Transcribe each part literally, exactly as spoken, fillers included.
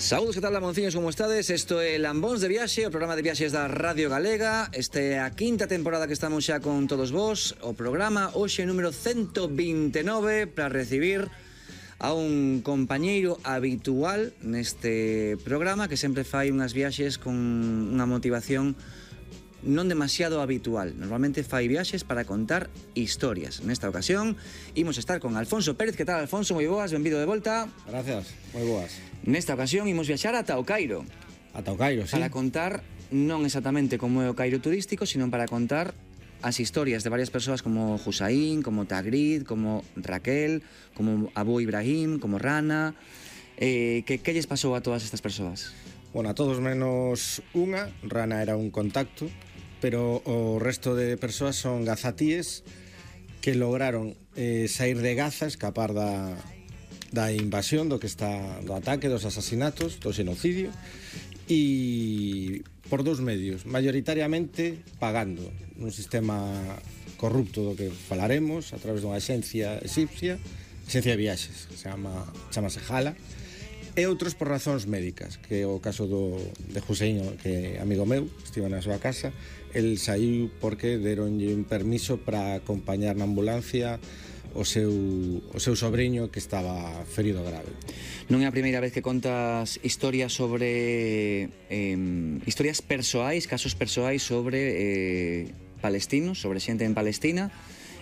Saúdos, que tal, lamonciños, como estades? Isto é Lambóns de Viaxe, o programa de viaxes da Radio Galega. Este é a quinta temporada que estamos xa con todos vos. O programa hoxe número ciento veintinueve para recibir a un compañeiro habitual neste programa que sempre fai unhas viaxes con unha motivación non demasiado habitual. Normalmente fai viaxes para contar historias. Nesta ocasión imos estar con Alfonso Pérez. Que tal, Alfonso? Moi boas, benvido de volta. Gracias, moi boas. Nesta ocasión imos viaxar ata o Cairo. Ata o Cairo, sí. Para contar non exactamente como é o Cairo turístico, sino para contar as historias de varias persoas como Hussain, como Tagrid, como Raquel, como Abu Ibrahim, como Rana. Eh, que, que lles pasou a todas estas persoas? Bueno, a todos menos unha. Rana era un contacto, pero o resto de persoas son gazatíes que lograron eh, sair de Gaza, escapar da, da invasión, do que está do ataque, dos asasinatos, do xenocidio, e por dous medios, mayoritariamente pagando nun sistema corrupto do que falaremos, a través dunha axencia egipcia, axencia de viaxes, se chama, chamase Hala, e outros por razóns médicas, que é o caso do, de Hussein, que é amigo meu, estive na súa casa. El saiu porque deronlle un permiso para acompañar na ambulancia o seu, o seu sobrinho que estaba ferido grave. Non é a primeira vez que contas historias sobre eh, historias persoais, casos persoais sobre eh, palestinos, sobre xente en Palestina,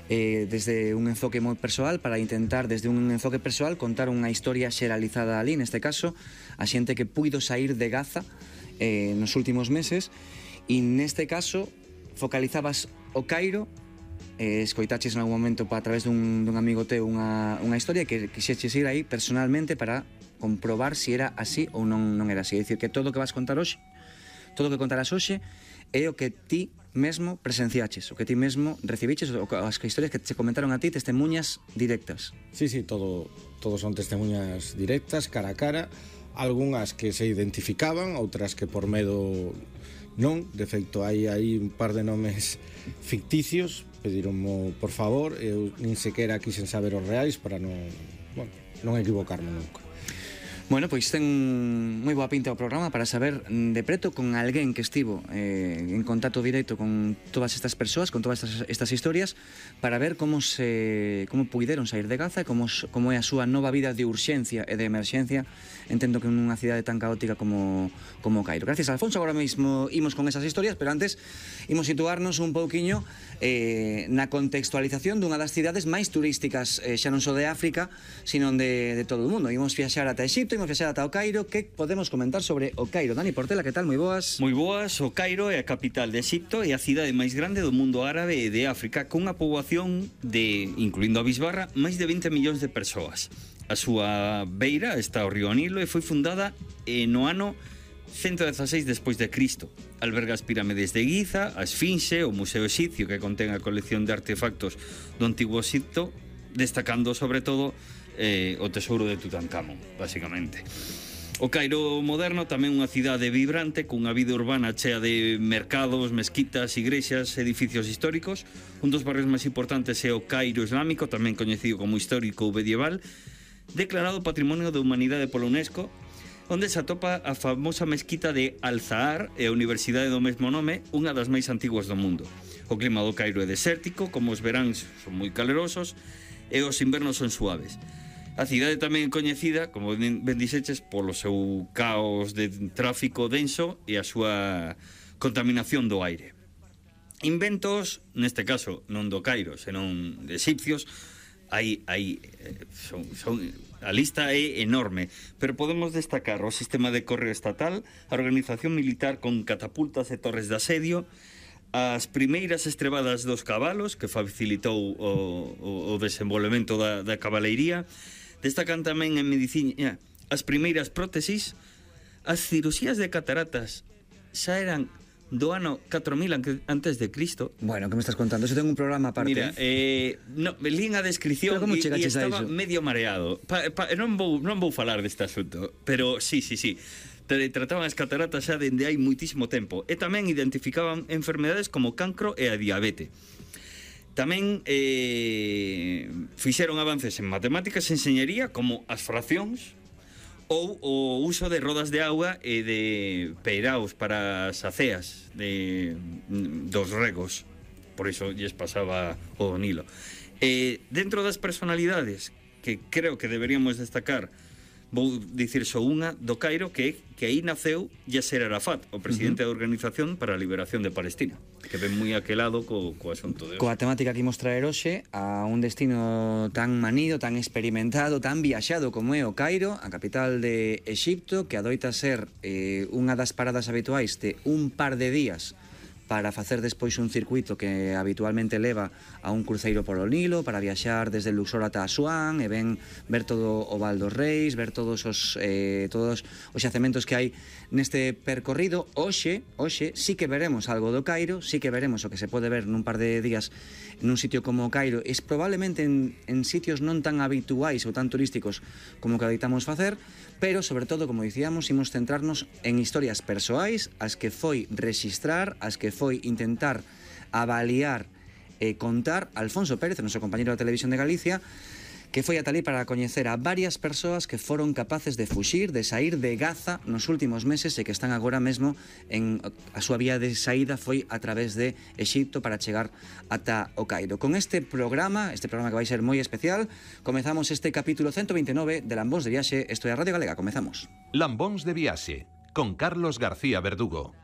eh, desde un enfoque moi persoal, para intentar desde un enfoque persoal contar unha historia xeralizada ali, neste caso a xente que puido sair de Gaza eh, nos últimos meses. E neste caso focalizabas o Cairo, eh, escoitaches en algún momento a través dun, dun amigo teu unha, unha historia que quixeches ir aí personalmente para comprobar se si era así ou non, non era así. É dicir, que todo o que vas contar hoxe, todo o que contarás hoxe é o que ti mesmo presenciaches, o que ti mesmo recibiches, as historias que te comentaron a ti, testemunhas directas. Sí, sí, todo, todo son testemunhas directas, cara a cara, algunhas que se identificaban, outras que por medo non. De feito, hai aí un par de nomes ficticios, pedironmo por favor, eu nin sequera quixen saber os reais para non, bueno, non equivocarme nunca. Bueno, pois ten moi boa pinta o programa para saber de preto con alguén que estivo eh, en contacto directo con todas estas persoas, con todas estas, estas historias, para ver como se como puideron sair de Gaza e como, como é a súa nova vida de urxencia e de emerxencia, entendo que nunha cidade tan caótica como, como Cairo. Gracias, Alfonso. Agora mesmo imos con esas historias, pero antes imos situarnos un pouquiño eh, na contextualización dunha das cidades máis turísticas, eh, xa non só de África, sino de, de todo o mundo. Imos viaxar ata Egipto, imos viaxar ata o Cairo. Que podemos comentar sobre o Cairo? Dani Portela, que tal? Moi boas. Moi boas. O Cairo é a capital de Egipto e a cidade máis grande do mundo árabe e de África, con unha poboación de, incluindo a Bisbarra, máis de vinte millóns de persoas. A súa beira está o río Nilo e foi fundada eh, no ano ciento dieciséis despois de Cristo. Alberga as pirámides de Giza, a Esfinxe, o Museo Exipcio, que contén a colección de artefactos do antigo Egipto, destacando sobre todo eh, o tesouro de Tutankamón, basicamente. O Cairo moderno tamén unha cidade vibrante, cunha vida urbana chea de mercados, mezquitas, igrexas, edificios históricos. Un dos barrios máis importantes é o Cairo Islámico, tamén coñecido como histórico ou medieval, declarado Patrimonio da Humanidade pola UNESCO, onde se atopa a famosa mezquita de Al-Zahar e a Universidade do mesmo nome, unha das máis antiguas do mundo. O clima do Cairo é desértico, como os veráns son moi calerosos e os invernos son suaves. A cidade tamén é coñecida, como ben dixeches, polo seu caos de tráfico denso e a súa contaminación do aire. Inventos, neste caso non do Cairo, senón de egipcios, hai, hai, son, son, a lista é enorme, pero podemos destacar o sistema de correo estatal, a organización militar con catapultas e torres de asedio, as primeiras estrebadas dos cabalos, que facilitou o, o, o desenvolvemento da, da cabaleiría. Destacan tamén en medicina as primeiras prótesis. As cirurxías de cataratas xa eran do ano catro mil antes de Cristo. Bueno, que me estás contando? Eso ten un programa aparte. Mira, eh, no, lín a descripción e, e estaba medio mareado. Pa, pa, non, vou, non vou falar deste asunto, pero sí, sí, sí. Trataban as cataratas xa dende hai muitísimo tempo. E tamén identificaban enfermedades como cancro e a diabetes. Tamén eh, fixeron avances en matemáticas e enxeñería, como as fraccións, ou o uso de rodas de auga e de peiraos para as aceas de, dos regos. Por iso lles pasaba o Nilo. E dentro das personalidades que creo que deberíamos destacar, vou dicir só unha do Cairo, que que aí naceu Yasser Arafat, o presidente uh -huh. da Organización para a Liberación de Palestina, que ven moi aquelado co, co asunto de hoxe. Coa temática que imos traer hoxe a un destino tan manido, tan experimentado, tan viaxado como é o Cairo, a capital de Exipto, que adoita ser eh, unha das paradas habituais de un par de días para facer despois un circuito que habitualmente leva a un cruceiro polo Nilo, para viaxar desde Luxor ata Asuán, e ven ver todo o Val dos Reis, ver todos os eh, todos os xacementos que hai neste percorrido. Hoxe, hoxe sí que veremos algo do Cairo, sí que veremos o que se pode ver nun par de días nun sitio como o Cairo, es probablemente en, en sitios non tan habituais ou tan turísticos como que adeitamos facer, pero sobre todo, como dicíamos, imos centrarnos en historias persoais, as que foi rexistrar, as que foi intentar avaliar e contar Alfonso Pérez, o noso compañeiro da Televisión de Galicia, que foi ata ali para coñecer a varias persoas que foron capaces de fuxir, de sair de Gaza nos últimos meses e que están agora mesmo en a súa vía de saída foi a través de Exipto para chegar ata o Cairo. Con este programa, este programa que vai ser moi especial, comezamos este capítulo ciento veintinueve de Lambóns de Viaxe. Isto é a Radio Galega, comezamos. Lambóns de Viaxe, con Carlos García Verdugo.